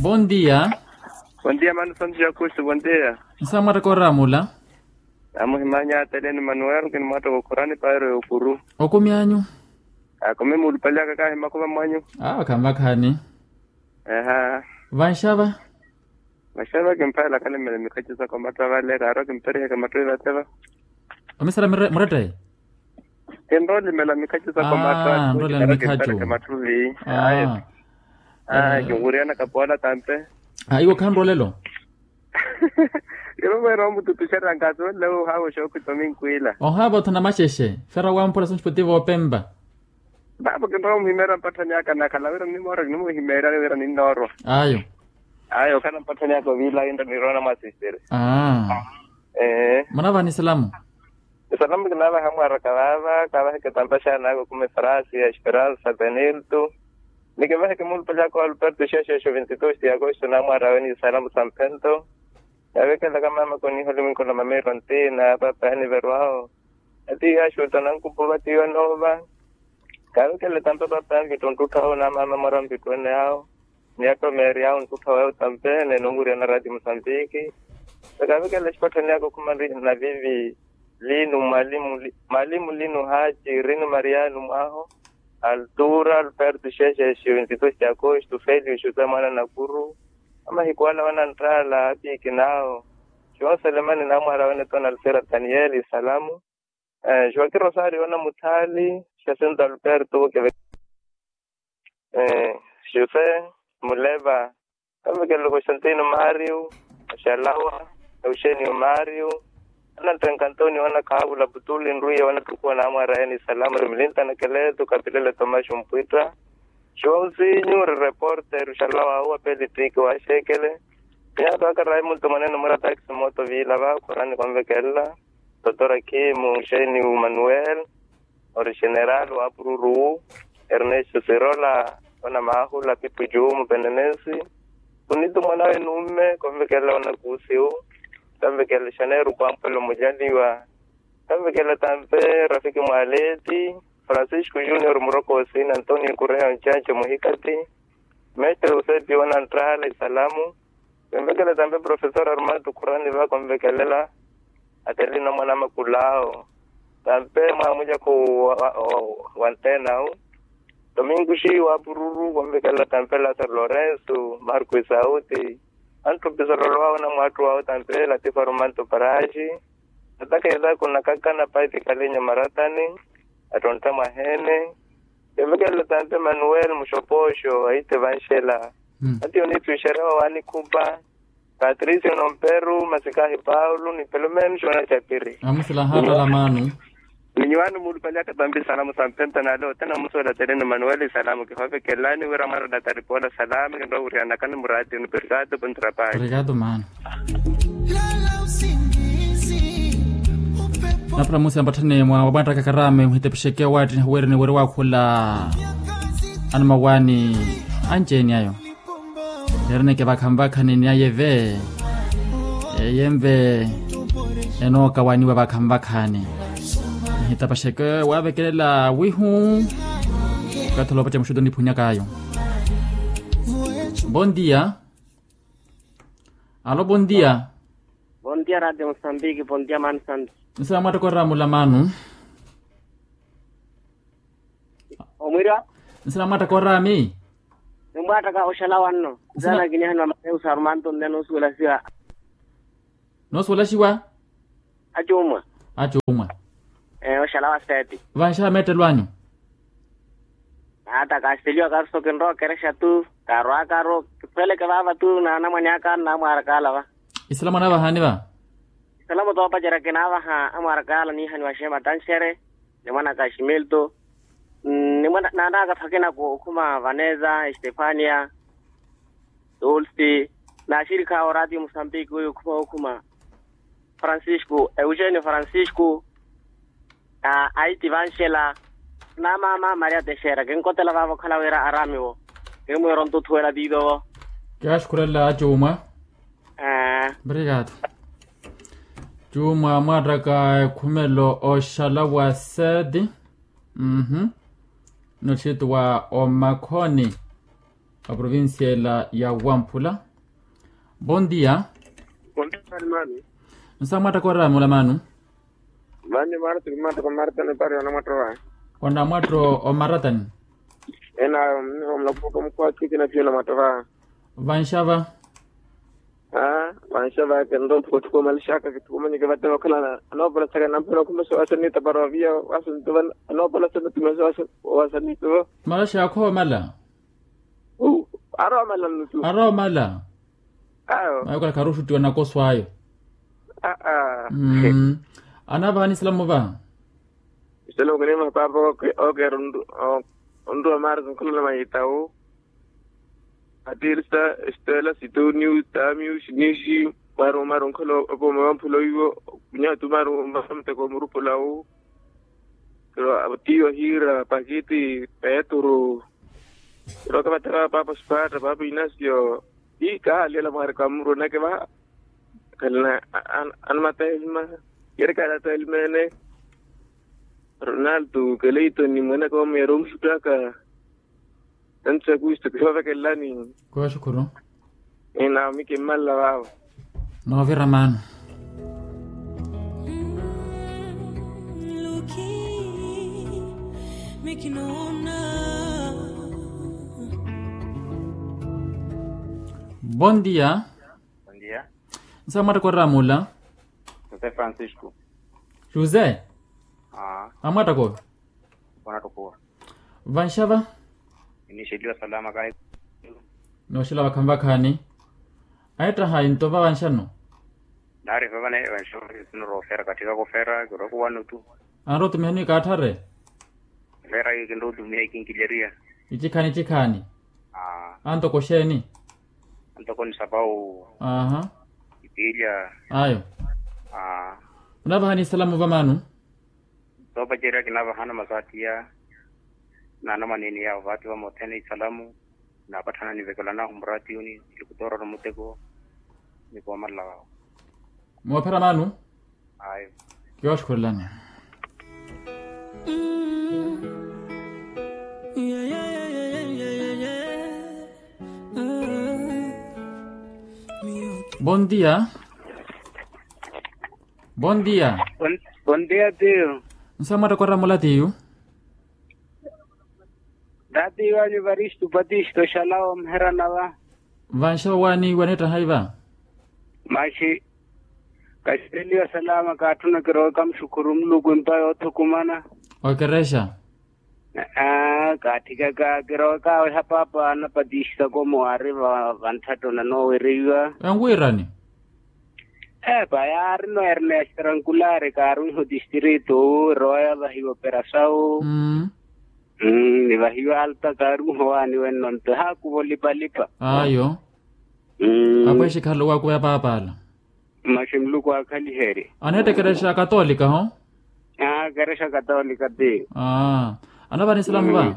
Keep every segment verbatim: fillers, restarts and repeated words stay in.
Bondia. Bondia mano santu jakusi bondia. Nsamwattaka oraamula. Namuhimanya atele ni manuel kinimwattaka okhurani pairo y'okuru. Okumi anyu. Akumi muulupaliyaka kahi makuva mwanyu. Awo khanvakhani. Eha. Vanxava. Vanxava kimphaela kalemela mikhaci saka omatthu avale kaaro kimperiheke matthu ivateva. Omisala muretteye. Kinrolimela mikhacu saka omatthu. Nrolimela mikhacu. Ayo. Kinwiriyanaka poola tampe. Iwo khanrolelo. Ivo mwene omututuxeryanka asoonle ohaawa oxookhwita ominkwila. Ohaava othana maxexe fera wampula sonxipoti voopempa. Paapa kinrowa omuhimeerya mpatthani aka nakhala wira nimmoora kinimuhimeeryani wira ninnoorwa. Ayo. Ayo okhala mpatthani aka oviila inra niroona mwasisiri. Aa. Munavaha ni salamu? Esalamu kinaavaha mwaraka vaava kaavaheke tampaxaana aka okumi frasi ya esperansa benilto. Ni kivaheke muulupale aka wa alberto xexexo vinti dos de agosto naamwaarawe ni salamu sa mphento. Kaavekelaka maamaka oniiha olimwinko na mameiro ntiina paapa yaniverwawo. Atiiyaxuta nankupuva tiiyo noova. Kaavikele tampe paapa ya mvitto nttuttha wawe na maama mora mvitto ene yawo. Ni attomeeri yawo nttuttha wawe tampe nene onwiriyana raati musambiki. Kaavikele exipatthani yaka okhuma navivi linu mwalimu linu haci rinu mariyanu mwaho. Altura alberto xexexi vinti dos de agosto felio xuta mwana nakuru. Amahiku ala wananttaala apiiki nawo. João selemani naamwaara wene tona alfera daniel isalamu. Joaquim rosario wana muthaali. Jacinto alberto keve. José muleva. Kavekele constantino mario. Oxalawa euxenio mario. Ananttenka antonio wana khaavula putuli nruiya wana ttukuwa naamwaara yani isalamu ri milinta na keleto kapilele tomaxo mpwitta. Joãozinho ri reporter oxalawa awo apelitiki wa axeekele. Miyato aka raimundo mwanene mura taxi mooto viila va khurani konvekelela. Totora kimu xeni umanuel. Ori general wa pururu wu. Ernesto sirola wana maahula pipuju mupenenesi. Kunito mwanawe numme konvekelela wana kuusiwu. Konvekelela xaneru kwampwelo mujaliwa. Kanvekela tampe rafiki mwaleti francisco junior muroko osina antonio kureya oncanca muhikati. Mestre usepi wananttahala isalamu. Kanvekela tampe profesor armando khurani va kanvekelela. Atelina mwana makulao tampe mwamulyakhu. Wantenau domingo xiwa pururu kanvekelela tampe lazaro lorenso marco isauti. Anttupisololo awo na mwaattu awo tampe latifa romanto paraxi. Ataka etaku nakakana paipi kalinya maratani. Attontta mwaheene. Kevekelele tampe manuel muxopoxo aite vanxela. Ati onittwixerya wa wanikhupa. Patricio nomperu masikahi paulo ni pelomeno xona capiri. Amusila hatala manu. Ni nyuwaani muulupaliyaka tampi salamu sa mpenta naale othene amusuwela teleni manuel isalamu kihovekelelani wira mwarala taripoola salami kinrowa wuriyanakani muraati unu perikaato puntrapali. Perikaato maana. Napula musi ampatthani mwa wamwattaka karami muhitepexeke waattiha weereni weri waakhula. Anumawaani anci-eni ayo. Leero neke vakhanvakhani ni aye ve. Eye nve enookawaniwa vakhanvakhani. Nihitapaxeke waavekelela wihu. Okathi oloopaca muxuto niphunyak'ayo. Bondia. Alo bondia. Bondia radio mosambiki bondia mani santo. Nsa mwattokorera mulamanu. Omwira. Nsina mwaattaka oraami. Nimwaattaka oxala wanno. Nsina kiniha ni wa mateus arumanto nnene osuwelasiwa. Noosuwelaxiwa. Acuumwa. Acuumwa. Oxala wa seeti. Vanxaha meettelo anyu. Naattaka axiteliwa karu so kinrowa okerexa tu. Kaarwaakaru kiphweleke vaava tu na anamwane aka nnaamwaarakaala va. Isila mwanavahaani va. Isalamu toopacerya kinaavaha amwarakaala niihaniwa xeema tanxere. Ni mwanaka ximilto. Ni mwanaka phakina ku okhuma vaneza estefania. Dulce. Naaxirikha oraati musambiki oyo okhuma okhuma. Francisco eugenio francisco. Aiti vanxela. Namama maria texera kinkotela vava okhala wira aramiwo. Kimwiro ntuthuwela viivovo. Kiaxukhurela acuumwa. Obrigado. Cuumwa mwaattaka ekhumelo oxala wa seti. Noxitiwa omakhoni. Aprovincia ela ya wamphula. Bon dia. Bon dia mani. Nsa mwattaka oraamula manu? Mani mwattaka mwattaka mwattaka nipari ona mwattaka. Ona mwattaka omaratani. Ena mulapuka mukwakhikina piyo na mwattaka. Vanxava. Aa vanxava kento mpukha thuku omalaxaka kithukumanyeke vattaka okhala. Anoopolasaka namphela okhumexa wasanita para oviya wasanita. Anoopolasaka tumesa wasanita. Malaxa akhoomala. Aroomala nnutu. Aroomala. Ayo. Ayo kala kharuxuttiwa nakoso ayo. Aa. Anavaha nisalamu va? Isalamu kinimaha paapa. Okeera onruwa maari zinkholola mayitawu. Atirisa, estela, sitoniu, tamiu, sinisi. Mwaru mwaru nkholo opoma wamphula oiwo. Kunyatu mwaru mwaru muteko omurupulawu. Tiyo hiira pakiti peturu. Kiroka vattaka paapa sipaatta paapa inasio. Ii kahalyela mwaari kamuru nake va. Khalina anamata elima. Keri kahalyata elimene. Ronaldo keleitoni mwenaka wamuya romuxuttaka. Antu sa kristu kihovekelelani. Kuwa xukhuru. Ina mikimmalela vaavo. Noovira maano. Bon dia. Nsa mwattaka oraamula? José francisco. José. Amwattaka ove? Vanxava. Inixeliwa salama kahi. Nooxela vakhaani vakhaani. Aettaha intova vanxano. Naari vavane vanxava. Noroofera katthikaka ofera kirokuwano tu. Anrotumihani kaatthare. Ofera kinrotumiha ikinkileriya. Icikhaani icikhaani. Antoko xeeni? Antoko ni sapawu. Aha. Itiilya. Ayo. Munavahani isalamu vamaanu? Soopacerya kinavahana masaatiya. Naanamanini yawo vaati vamothene isalamu. Naapatthana nivekela nahu muraatiyuni. Nilikutoorora muteko. Nikoomalela vawo. Moophera maanu. Ayo. Kiwaaxukhulelani. Bon dia. Bon dia. Bon dia tiyo. Nsa mwattaka oramula tiyo? Taatiiwanyu evaristu patisto xalawa omuherana va. Vanxava waaniiwa neettahayi va? Maxi kaxereliwa salama kaatthuna kirowaka muxukhuru muluku empa yoothukumana. Okerexa. Aa kaatthikaka kirowaka aweha paapa anapatista komo aari vantthatto nanoowereiwa. Enwiirani? Epa yaarino ernesto trankulari kaarwiha otistrito owo erowa yavahiwa operasawu. Nivahiwa alta kaarwiha owaani wenno nto ehaakuva olipalipa. Ayo. Apo exikhala owakuva ya paapa ala. Maxi muluku aakhaliherye. Aneetta ekerexa katolika ho? Aa ekerexa katolika ti. Anavani isalamu va?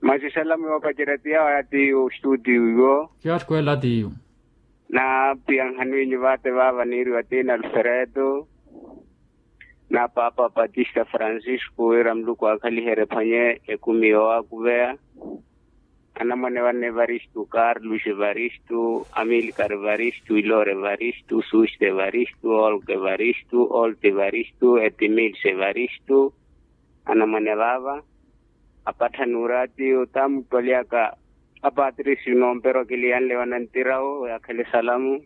Maxi isalamu yoopacerya ti yawo ya tiyo ostuti iwo. Kiyatthukwela tiyo. Naaphiya nhanwinyu vaate vaava niiriwa ti na alfredo. Na paapa patista francisco wira muluku aakhaliherye ephwanye ekumi yoowakuveya. Anamwane vanne evaristu carlos evaristu amilcar evaristu ilore evaristu suste evaristu olk evaristu olt evaristu etimils evaristu. Anamwane vaava apatthani uraati otaamupaliyaka apatrisi noompero akiliyanle wanantirawo yaakhale salamu.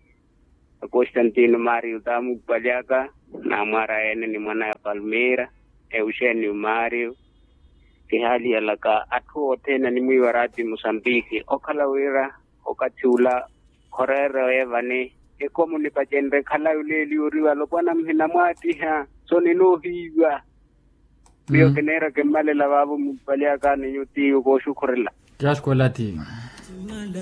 Akostantino mario taamupaliyaka naamwaara yeene ni mwanaya palmeira euxenio mario. Kihaaliyalaka atthu othene animwiiwa raati musambiki okhala wira okathi ula khoreere oye vani. Ekomu nipacenre khalayi oleeliwa oriwa alopwana muhina mwaattiha so ninoohiiwa. Miyo kineera kimmalela vaavo mupali aka ninyu tiyo kooxukhurela. Kiyaxukhurela tiyo.